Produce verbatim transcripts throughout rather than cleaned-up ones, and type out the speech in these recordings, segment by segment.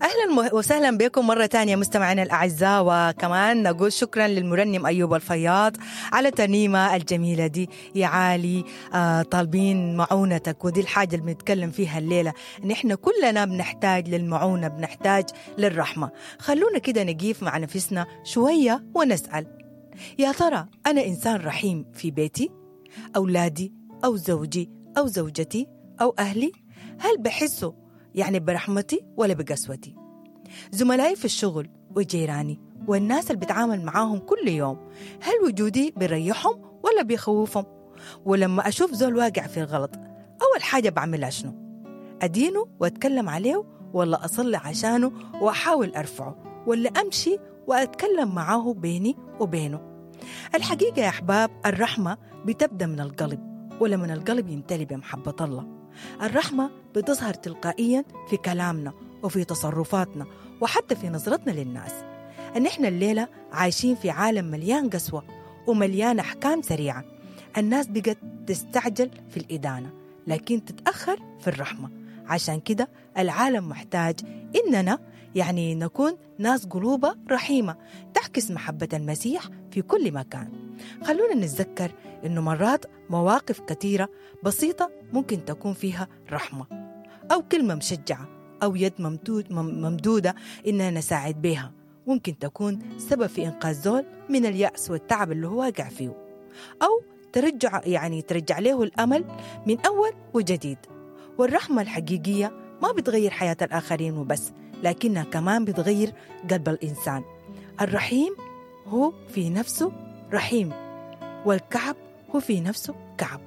اهلا وسهلا بكم مره ثانيه مستمعينا الاعزاء، وكمان نقول شكرا للمرنم ايوب الفياض على الترنيمه الجميله دي. يا عالي آه طالبين معونتك، ودي الحاجه اللي بنتكلم فيها الليله، نحن كلنا بنحتاج للمعونه، بنحتاج للرحمه. خلونا كده نقيف مع نفسنا شويه ونسال، يا ترى انا انسان رحيم في بيتي، اولادي او زوجي او زوجتي او اهلي؟ هل بحسوا يعني برحمتي ولا بقسوتي؟ زملائي في الشغل وجيراني والناس اللي بتعامل معاهم كل يوم، هل وجودي بيريحهم ولا بيخوفهم؟ ولما أشوف زول واقع في الغلط، أول حاجة بعملها شنو؟ أدينه وأتكلم عليه، ولا أصلي عشانه وأحاول أرفعه، ولا أمشي وأتكلم معاه بيني وبينه؟ الحقيقة يا أحباب، الرحمة بتبدأ من القلب، ولما القلب يمتلي بمحبة الله، الرحمة بتظهر تلقائيا في كلامنا وفي تصرفاتنا وحتى في نظرتنا للناس. إن إحنا الليلة عايشين في عالم مليان قسوة ومليان أحكام سريعة، الناس بقت تستعجل في الإدانة لكن تتأخر في الرحمة. عشان كده العالم محتاج إننا يعني نكون ناس قلوبة رحيمة تعكس محبة المسيح في كل مكان. خلونا نتذكر إنه مرات مواقف كثيرة بسيطة ممكن تكون فيها رحمة، أو كلمة مشجعة، أو يد ممدودة إننا نساعد بها، ممكن تكون سبب في إنقاذ زول من اليأس والتعب اللي هو واقع فيه، أو ترجع يعني ترجع له الأمل من أول وجديد. والرحمة الحقيقية ما بتغير حياة الآخرين وبس، لكنها كمان بتغير قلب الإنسان. الرحيم هو في نفسه رحيم، والكعب هو في نفسه كعب.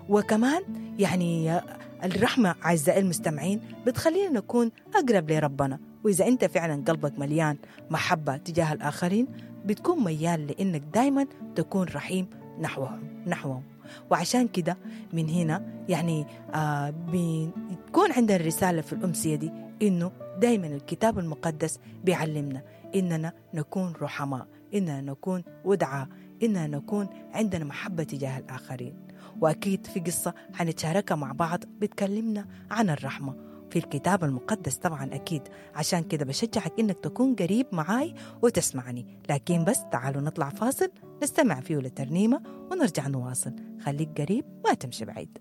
وكمان يعني الرحمة أعزائي المستمعين بتخلينا نكون أقرب لربنا، وإذا أنت فعلا قلبك مليان محبة تجاه الآخرين بتكون ميال لأنك دايما تكون رحيم نحوهم نحوهم. وعشان كده من هنا يعني آه بتكون عندنا الرسالة في الأمسية دي، إنه دايما الكتاب المقدس بيعلمنا إننا نكون رحماء، إننا نكون ودعاء، إننا نكون عندنا محبة تجاه الآخرين. وأكيد في قصة هنتشاركها مع بعض بتكلمنا عن الرحمة في الكتاب المقدس طبعا أكيد. عشان كده بشجعك إنك تكون قريب معاي وتسمعني، لكن بس تعالوا نطلع فاصل نستمع فيه لترنيمة ونرجع نواصل. خليك قريب ما تمشي بعيد.